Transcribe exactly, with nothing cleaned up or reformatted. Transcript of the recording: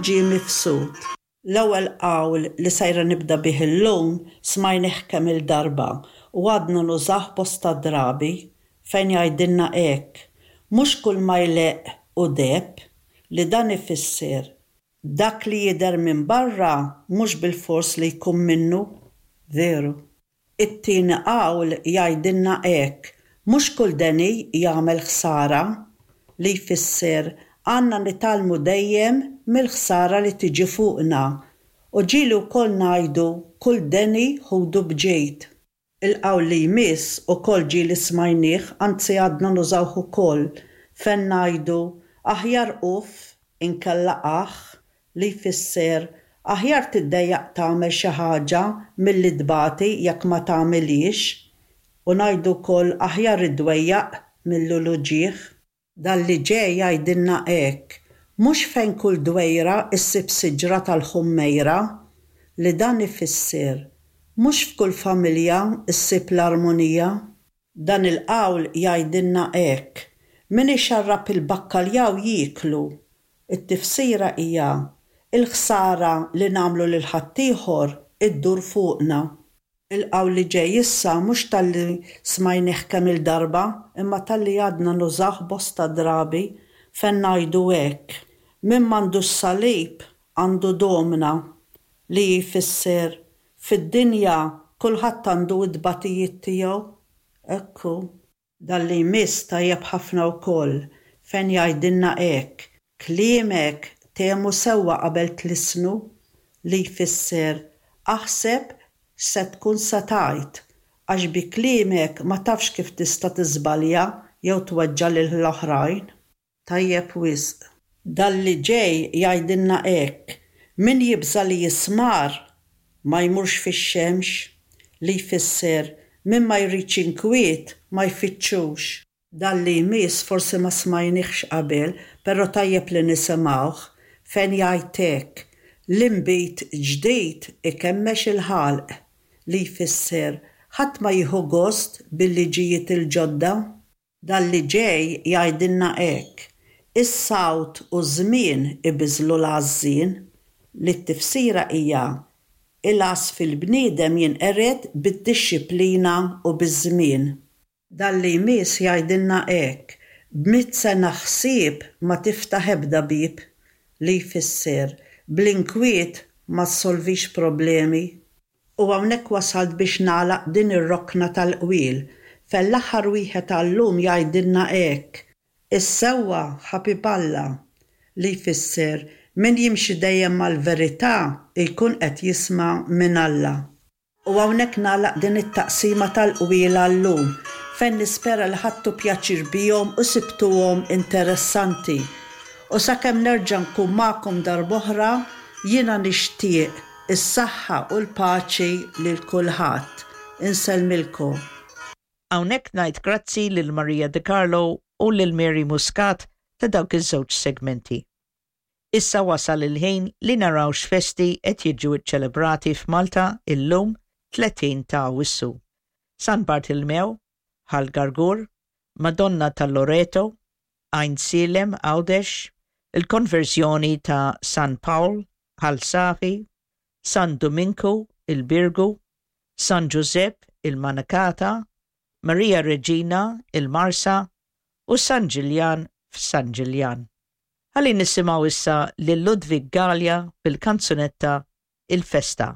Ġie Mifsud. L-ewwel qawl li sejra nibda bih illum smajnih kemm il-darba u għadna nużah bosta drabi, fejn jgħidilna hekk: Mhux kull ma jleqq hu deheb, li dan ifisser dak li jidher minn barra mhux bilfors li jkun minnu veru. It-tieni qawl jgħidilna hekk: Mhux kull deni jagħmel ħsara, li jfisser għandna nitgħallmu dejjem mill-ħsara li tiġi fuqna, u ġieli wkoll ngħidu kull deni ħudu b'ġid. Il-qawl li jmiss ukoll ġieli smajnieh, anzi għadna nużawh ukoll, fejn ngħidu aħjar uff inkella aħ, li jfisser aħjar tiddejjaq tagħmel xi ħaġa milli tbati jekk ma tagħmilhiex, u ngħidu wkoll aħjar id-dwejjaq mill-uġigħ. Dan li ġej jgħidilna hekk: Mhux fejn kull dwejra issib siġra tal-ħummejra, li dan ifisser mhux f'kull familja ssib l-armonija. Dan il-qawl jgħidilna hekk: Min ixarrab il-bakkaljaw jieklu. It-tifsira hija il-ħsara li nagħmlu lil ħaddieħor iddur fuqna. Il-qawl li ġej issa mhux talli smajnih kemm il-darba, imma talli għadna nużah bosta drabi, fejn ngħidu hekk: Min m'għandux salib għandu domna, li jfisser fid-dinja kulħadd għandu d-tbatijiet tiegħu. Ekku. Dan li jmiss tajjeb ħafna wkoll, fejn jgħidilna hekk: Kliemek temu sewwa qabel tlissnu, li jfisser aħseb x'se tkun se tgħid, għax bi kliemek ma tafx kif tista' tiżbalja jew tweġġa' lill-oħrajn. Tajjeb wisq. Dan li ġej jgħidilna hekk: Min jibża' li jismar ma jmurx fix-xemx, li jfisser min ma jridx inkwiet ma jfittxux. Dan li jmiss forsi ma smajnihx qabel, però tajjeb li nisimgħuh, fejn jgħid hekk: L-inbid ġdid ikemmex il-ħalq, li jfisser ħadd ma jieħu gost bil-liġijiet il-ġodda. Dan li ġej jgħidilna hekk: Is-sawt u ż-żmien ibiżlu l-għażżien, li t-tifsira hija il-għażż fil-bniedem jinqered bid-dixxiplina u biż-żmien. Dan li jmiss jgħidilna hekk: B'mitt sena ħsieb ma tiftaħ ebda bieb, li jfisser bl-inkwiet ma ssolvix problemi. U hawnhekk wasalt biex nagħlaq din ir-rokna tal-qwiel, fejn l-aħħar wieħed għallum jgħidilna hekk: Is-sewwa ħabib Alla, li jfisser min jimxi dejjem mal-verità jkun qed jisma' minn Alla. U hawnhekk nagħlaq din it-taqsima tal-qwiel għallum, fejn nispera li ħadtu pjaċir bihom u sibtuhom interessanti. U sakemm nerġa' nkun magħkom darb'oħra, jiena nixtieq is-saħħa u l-paċi lil kulħadd. Insellmilkom. Hawnhekk ngħid grazzi lil Maria De Carlo u lil Mary Muscat ta' dawk iż-żewġ segmenti. Issa wasal il-ħin li naraw x'festi qed jiġu ċċelebrati f'Malta illum tletin ta' Awwissu. San Bartilmew, Ħal Gargur, Madonna tal-Loreto, Għajnsielem Għawdex, il-konverżjoni ta' San Pawl, Ħal Safi, San Duminku, il-Birgu, San Giuseppe, il-Manakata, Maria Regina, il-Marsa u San Ġiljan f'San Ġiljan. Ħalli nisimgħu issa lil Ludwig Galea bil-kanzunetta Il-Festa.